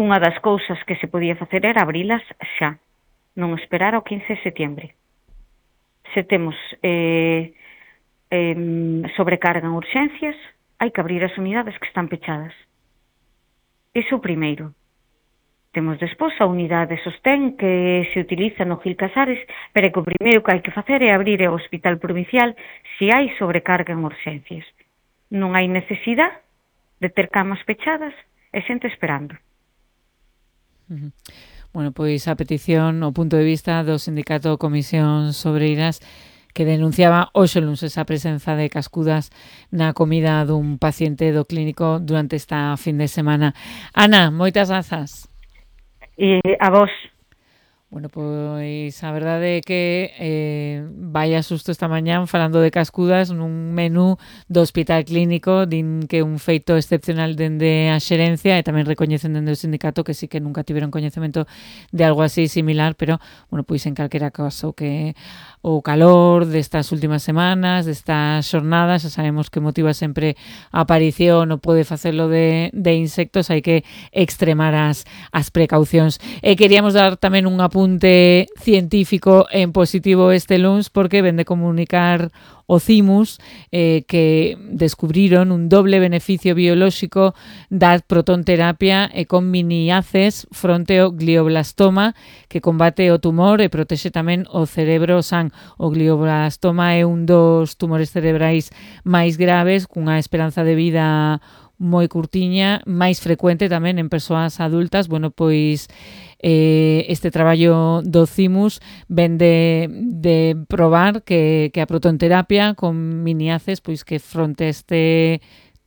unha das cousas que se podía facer era abrilas xa, non esperar ao 15 de setembro. Se temos sobrecarga en urxencias, hai que abrir as unidades que están pechadas. Iso o primeiro. Temos despois a unidade sostén que se utiliza no Gil Casares, pero que o primeiro que hai que facer é abrir o hospital provincial se hai sobrecarga en urxencias. Non hai necesidade de ter camas pechadas e xente esperando. Bueno, pois a petición, o punto de vista do Sindicato Comisións Obreiras, que denunciaba hoxe luns a presenza de cascudas na comida dun paciente do clínico durante esta fin de semana. Ana, moitas grazas. E a vos. Bueno, pois a verdade é que vaya susto esta mañán falando de cascudas nun menú do hospital clínico, din que un feito excepcional dende a xerencia e tamén recoñecen dende o sindicato que sí que nunca tiveron coñecemento de algo así similar, pero, bueno, pois en calquera caso que o calor destas últimas semanas, destas xornadas, xa sabemos que motiva sempre a aparición ou pode facelo de insectos, hai que extremar as precaucións. E queríamos dar tamén un apunte científico en positivo este luns porque ven de comunicar o CIMUS que descubriron un doble beneficio biolóxico da protonterapia e con miniaces fronte ao glioblastoma que combate o tumor e protexe tamén o cerebro san. O glioblastoma é un dos tumores cerebrais máis graves cunha esperanza de vida moi curtiña, máis frecuente tamén en persoas adultas. Bueno, pois este traballo do CIMUS ven de probar que a protonterapia con miniaces pois que fronte a este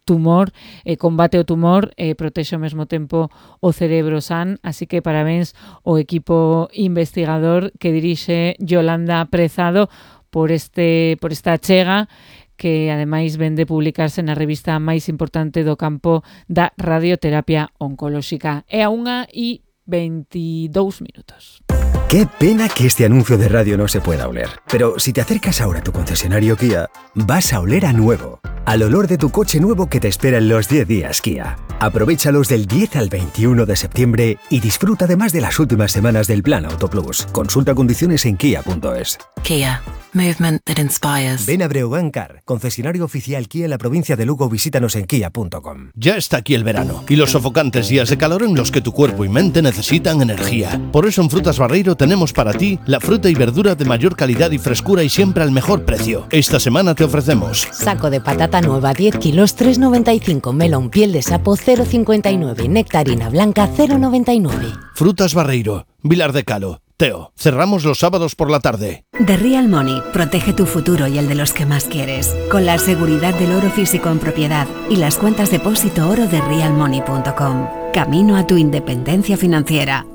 tumor, combate o tumor e protexe ao mesmo tempo o cerebro san, así que parabéns ao equipo investigador que dirixe Yolanda Prezado por esta achega que ademais ven de publicarse na revista máis importante do campo da radioterapia oncolóxica. É a 1:22. Qué pena que este anuncio de radio no se pueda oler. Pero si te acercas ahora a tu concesionario Kia, vas a oler a nuevo. Al olor de tu coche nuevo que te espera en los 10 días Kia. Aprovéchalos del 10 al 21 de septiembre y disfruta además de las últimas semanas del Plan Auto Plus. Consulta condiciones en kia.es. Kia. Movement that inspires. Ven a Breogán Car, concesionario oficial Kia en la provincia de Lugo. Visítanos en kia.com. Ya está aquí el verano y los sofocantes días de calor en los que tu cuerpo y mente necesitan energía. Por eso en Frutas Barreiro tenemos para ti la fruta y verdura de mayor calidad y frescura y siempre al mejor precio. Esta semana te ofrecemos saco de patata nueva 10 kilos 3,95, melón piel de sapo 0,59, nectarina blanca 0,99. Frutas Barreiro, Vilar de Calo. Teo, cerramos los sábados por la tarde. The Real Money protege tu futuro y el de los que más quieres, con la seguridad del oro físico en propiedad y las cuentas depósito oro de realmoney.com. Camino a tu independencia financiera.